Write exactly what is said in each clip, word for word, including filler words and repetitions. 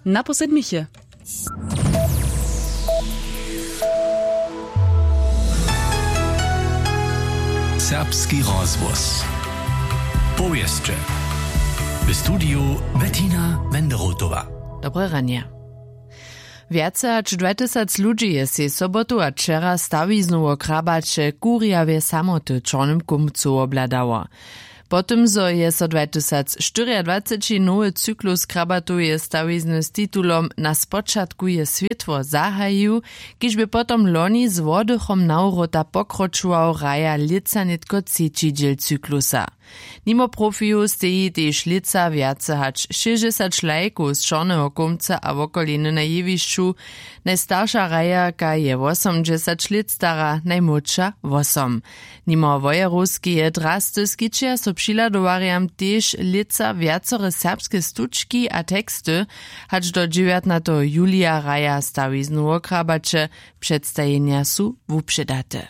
Na posledniche. Serbski rozhłos. Powěsće. W studiju Bettina Wenderotowa. Dobre ranje. Wjace hač dwajtysac ludźi je sej sobotu a wčera stawiznu wo krabaće kurjawje samoty w čornym kumcu wobhladało. Po tym zo je so dwajtysac štyriadwaceći nowy cyklus krabatoweje stawizny z titulom na spočatku je swětło zahajił, kiž bě potom loni z wodychom nawróta pokročował, hraja lětsa nětko třeći dźěl cyklusa. Nimo profijow steji tež lětsa wjace hač šěsćdźesać lajkow z čorneho kómca a wokoliny na jewišću. Najstarša hrajerka je wosomdźesać lět stara, najmłódša wosom. Nimo wojerowskeje drasty skićeja so přihladowarjam tež lětsa wjacore serbske stučki a teksty. Hač do dźewjatnateho julija hraja stawiznu wo krabaće. Předstajenja su wupředate.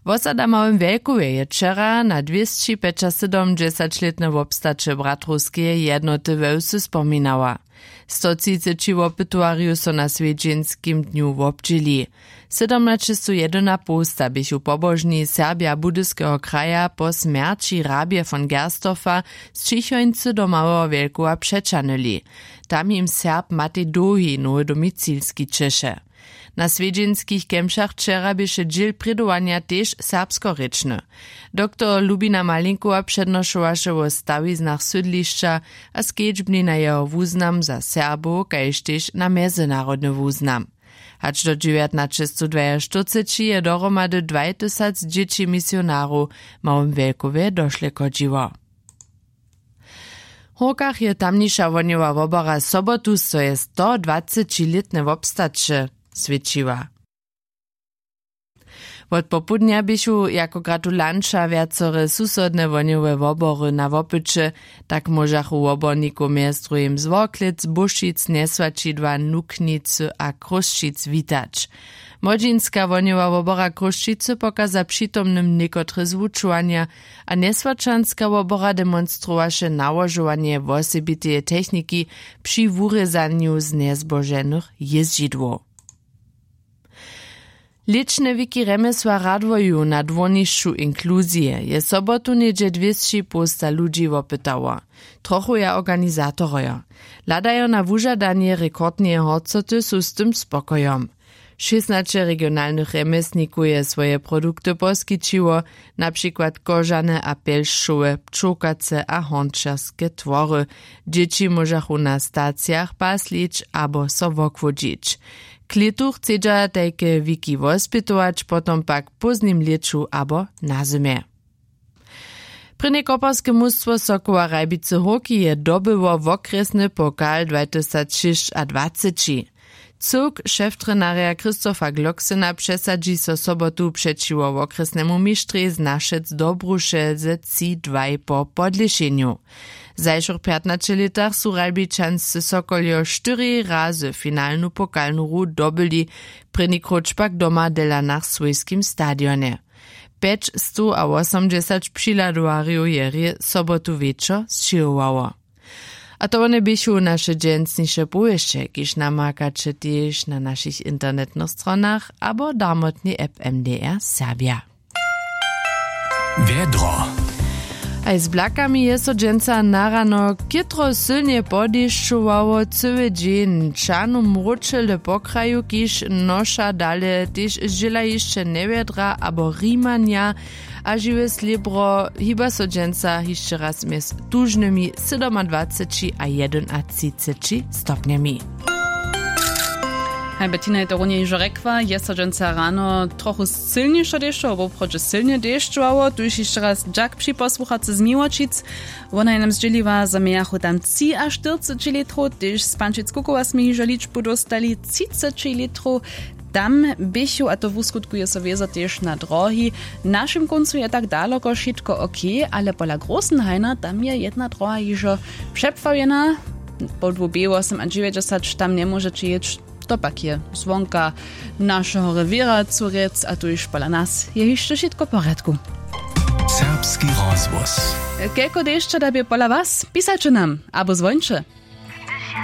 Wosada w Małym Wjelkowje je wčera na dwěsći pjećasydomdźesaćlětne wobstaće bratrowskeje jednoty we wsy spominała. Sto třiceći wopytowarjow so na swjedźenskim dnju wobdźěli. Sydomnaćestow jedynapołsta běchu pobožni Serbja Budyskeho kraja po smjerći hrabje von Gerstorfa z Ćichońcy do Małeho Wjelkowa přećahnyli. Tam jim Serb Matej Dołhi nowy domicil skićeše. Na swjedźenskich kemšach wčera běše dźěl prědowanja tež serbskorěčny. Doktor Lubina Malinkowa přednošowaše wo stawiznach sydlišća a skedźbni na jeho wuznam za Serbow kaž tež na mjezynarodny wuznam. Hač do dźewjatnaćestowdwaještyrceći je dohromady dwajtysac dźěći misionarow w Małym Wjelkowje došle chodźiło. W Hórkach je tamniša wohnjowa wobora sobotu swoje stodwacećilětne wobstaće swětšiła. Wot popołdnja běchu jako gratulanća wjacore susodne wohnjowe wobory na wopyće. Tak móžachu wobornikow mjez druhim z Worklec, Bóšic, Njeswaćidła, Nuknicy a Chrósćic witać. Młodźinska wohnjowa wobora Chrósćicy pokaza přitomnym někotre zwučowanja a njeswaćanska wobora demonstrowaše nałožowanje wosebiteje techniki při wurězanju znjezboženych jězdźidłow. Lěćne wiki rjemjesła radwoju na dwórnišću inkluzije je sobotu něhdźe dwěsći połsta ludźi wopytało. Trochuja organizatorojo. Hladajo na wužadanje rekordneje horcoty su z tym spokojom. Šěsnaće regionalnych rjemjesnikow je swoje produkty poskićiło, na přikład kožane a pjelšćowe, pčołkace a hornčerske twory. Dźěći móžachu na stacijach paslić abo so wochłodźić. K lětu chcedźa tajke wiki wospjetować, potom pak w póznim lěću abo na zymje. Prěnje koparske mustwo Sokoła Ralbicy Hórki je dobyło wokrjesny pokal dwajtysacšěsćadwaceći. Cyłk šeftrjenarja Christopha Glocksena přesadźi so sobotu přećiwo wokrjesnemu mištrjej z Našec do Bruše ze tři dwaj po podlěšenju. W zašłych pjatnaće lětach su Ralbičanscy Sokoljo štyri razy finalnu pokalnu hru dobyli, prěni króć pak doma w Delanach w swójskim stadionje. Pjećstowawosomdźesać přihladowarjow je rě sobotu wječor sćěhowało. A to wone běchu naše dźensniše powěsće, kiž namakaće tež na našich internetnych stronach abo darmotnej app M D R Serbja. Wjedro. Haj, z blakami je so dźensa na rano chětro sylnje podešćowało cyły dźeń. Čanu mróčele po kraju, kiž noša dale tež zdźěla hišće njewjedra abo rimanja a žiwe slěbro hiba so dźensa hišće raz mjez tužnymi sydomadwaceći a jedynatřiceći stopnjemi. Haj, Bettina je to runje hižo rjekła, je so dźensa rano trochu sylnišo dešćowało, woprawdźe sylnje dešćowało, tuž hišće raz dźak při posłuchacy z Miłočic. Wona je nam zdźěliła, zo mějachu tam třiaštyrceći litrow, tež z Pančic Kukowa smy hižo ličbu dóstali, třiceći litrow. Tam běchu, a to wuskutku je so wězo tež na drohi. W našim kóncu je tak daloko wšitko ok, ale pola Großenhaina tam je jedna droha hižo přepławjena. Po dwóch B wosomadźewjećdźesat tam njemóžeće jěć. To pak je zwonka našeho rewěra Curjec a tuž pola nas je hišće wšitko w porjadku. Serbski rozhłos. Kelko dešćo da bě pola was? Pisajće nam abo zwońće.